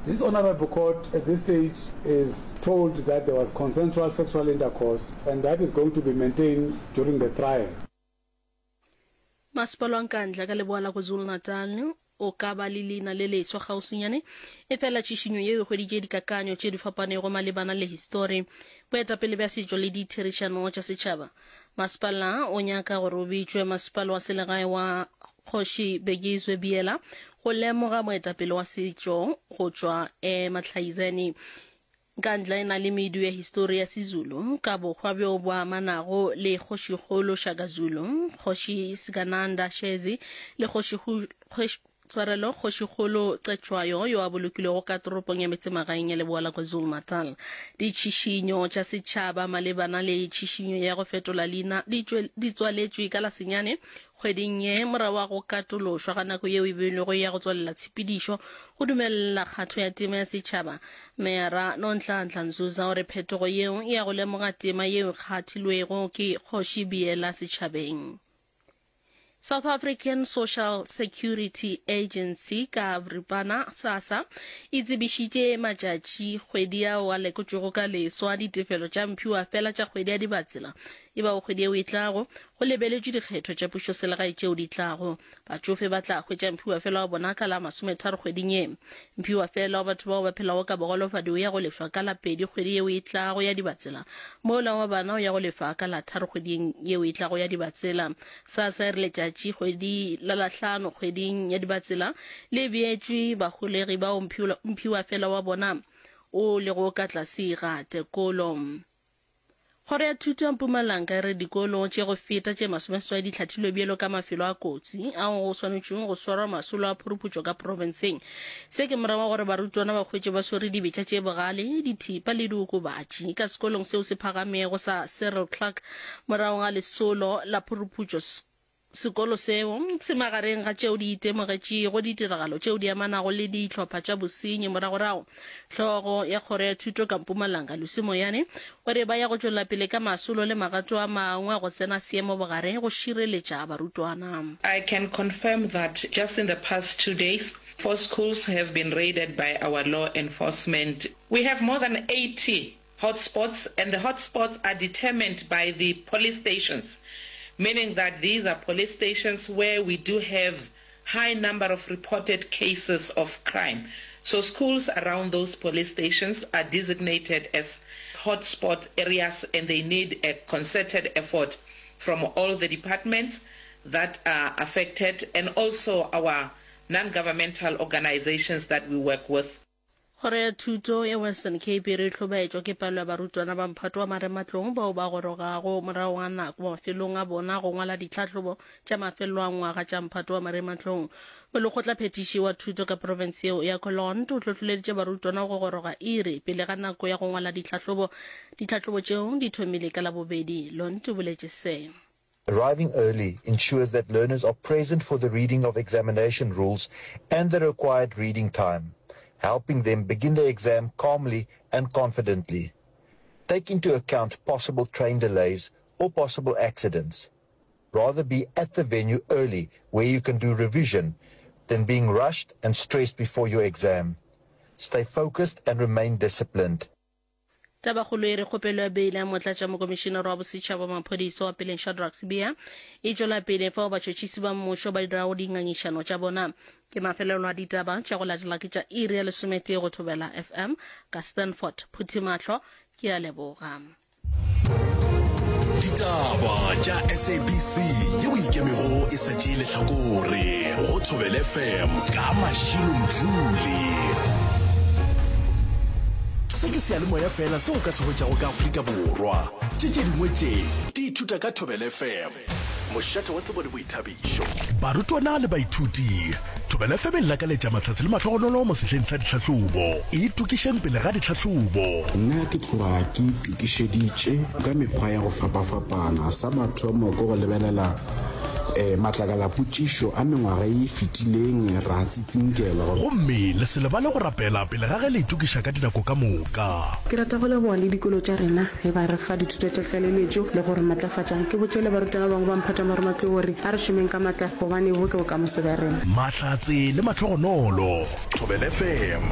This honourable court at this stage is told that there was consensual sexual intercourse and that is going to be maintained during the trial. Masepala wa Nkandla ka leboa la KwaZulu-Natal o ka ba le leina le leswa kgauswinyane, efela tšhišinyo yeo e hweditše dikakanyo tše di fapanego malebana le histori, boetapele bja setšo le ditherišano tša setšhaba. Masepala o nyaka gore o bitšwe Masepala wa Selegae wa Kgoši Bekizwe Biyela go lemoga moetapele wa setšo go tšwa eMahlaizeni. Nkandla e na le medu ya histori ya Sezulu ka bohwa bjo bo amanago le Kgošikgolo Shaka Zulu, Kgoši Sigananda Shezi le Kgoši Tshwarelo, Kgošikgolo Cetshwayo yo a bolokilwego ka toropong ya metsemagaeng ya leboa la KwaZulu-Natal. Ditšhišinyo tša setšhaba malebana le tšhišinyo ya go fetola leina di di tswaletšwe ka la senyane kgweding ye morago ga go katološwa ga nako yeo e beilwego ya go tswalela tshepedišo go dumelela kgatho ya tema ya setšhaba. Meyara Nonhlanhla Nzuza o re phetogo yeo e ya go lemoga tema yeo e kgathilwego ke Kgoši Biyela setšhabeng. South African Social Security Agency ka boripana SASSA e tsebišitše matšatši kgwedi ao a lekotšwego ka leswa ditefelo tša mphiwafela tša kgwedi ya Dibatsela e bago kgwedi yeo e tlago go lebeletšwe dikgetho tša pušoselegae tšeo di tlago. Batšofe ba tla hwetša mphiwafela wa bona ka la masometharo kgweding ye. Mphiwafela wa batho bao ba phelago ka bogolofadi o ya go lefša ka la pedi kgwedi yeo e tlago ya Dibatsela, mola wa bana o ya go lefa ka la tharo kgweding yeo e tlago ya Dibatsela. SASSA e re letšatši kgwedi la lahlano kgweding ya Dibatsela le beetšwe baholegi bao mphiwafela wa bona o lego ka tlase ga tekolo. Kgoro ya Thuto ya Mpumalanga e re dikolo tše go feta tše masomeseswai di hlathilwe bjalo ka mafelo a kotsi ao go swanetšweng go swarwa masolo a phuruputšo ka profenseng. Se ke morago ga gore barutwana ba hwetše ba swere dibetša tše bogale, dithipa le diokobatši ka sekolong seo se phagamego sa Cyril Clarke morago ga lesolo la phuruputšo. Sekolo seo se magareng ga tšeo di itemogetšego ditiragalo tšeo di amanago le dihlopha tša bosenyi moragorago. Hlogo ya Kgoro ya Thuto ka Mpumalanga, Lucy Moyane, o re ba ya go tšwela pele ka masolo le magato a mangwe a go tsena seemo bogare go šireletša barutwana. I can confirm that just in the past two days, four schools have been raided by our law enforcement. We have more than 80 hotspots and the hotspots are determined by the police stations, meaning that these are police stations where we do have high number of reported cases of crime. So schools around those police stations are designated as hotspot areas and they need a concerted effort from all the departments that are affected and also our non-governmental organizations that we work with. Kgoro ya Thuto ya Western Cape e re e hlobaetšwa ke palo ya barutwana ba mphato wa marematlou bao ba gorogago morago ga nako mafelong a bona go ngwala ditlhahlobo tša mafelelo a ngwaga tša mphato wa marematlou. Molekgotlaphethiši wa thuto ka profense yeo ya Colond o hlohloleditše barutwana go goroga iri pele ga nako ya go ngwala ditlhahlobo. Ditlhahlobo tšeo di thomile ka Labobedi, Lond o boletše se. Arriving early ensures that learners are present for the reading of examination rules and the required reading time, helping them begin the exam calmly and confidently. Take into account possible train delays or possible accidents. Rather be at the venue early where you can do revision than being rushed and stressed before your exam. Stay focused and remain disciplined. Tabakgolo e re kgopelo ya beile ya motlatšamokomišenare wa bosetšhaba wa maphodisa wa peleng Shadrack Sibiya e tšwela pele fao batšhotšhisi ba mmušo ba dirago dingangišano tša bona. Ke mafelelo a ditaba tša go latela ke tša iri ya lesometee go Thobela FM ka Stanford Phuthimahlo. Ke a leboga. Ditaba tša SABC yeo e ikemego e sa tšee lehlakore go Thobela FM ka Mashilo Mdluli. Se ke seyalemoya fela seo o ka se hwetšago ka Afrika Borwa. Tše tše dingwe tše di ithuta ka Thobela FM. Mošate wa tsebo le boithabišo. Barutwana le baithuti, Thobela FM e lakaletša mahlatse le mahlogonolo mo sehleng sa ditlhahlobo. Itokišeng pele ga ditlhahlobo. Nna ke tloga ke itokišeditše ka mekgwa ya go fapafapana. Sa mathomo ke go lebelela matlakalapotšišo a mengwaga ye e fetileng ra tsitsinkelwa. Gomme le se lebale go rapela pele ga ge le itokiša ka dinako ka moka. Ke rata go leboga le dikolo tša rena ge ba re fa dithuto tša tlaleletšo le go re matlafatša. Ke botše le barutwana ba bangwe ba mphato wa marematlou gore a re šomeng ka matla gobane bo ke bokamoso bja rena. Mahlatse le mahlogonolo. Thobela FM.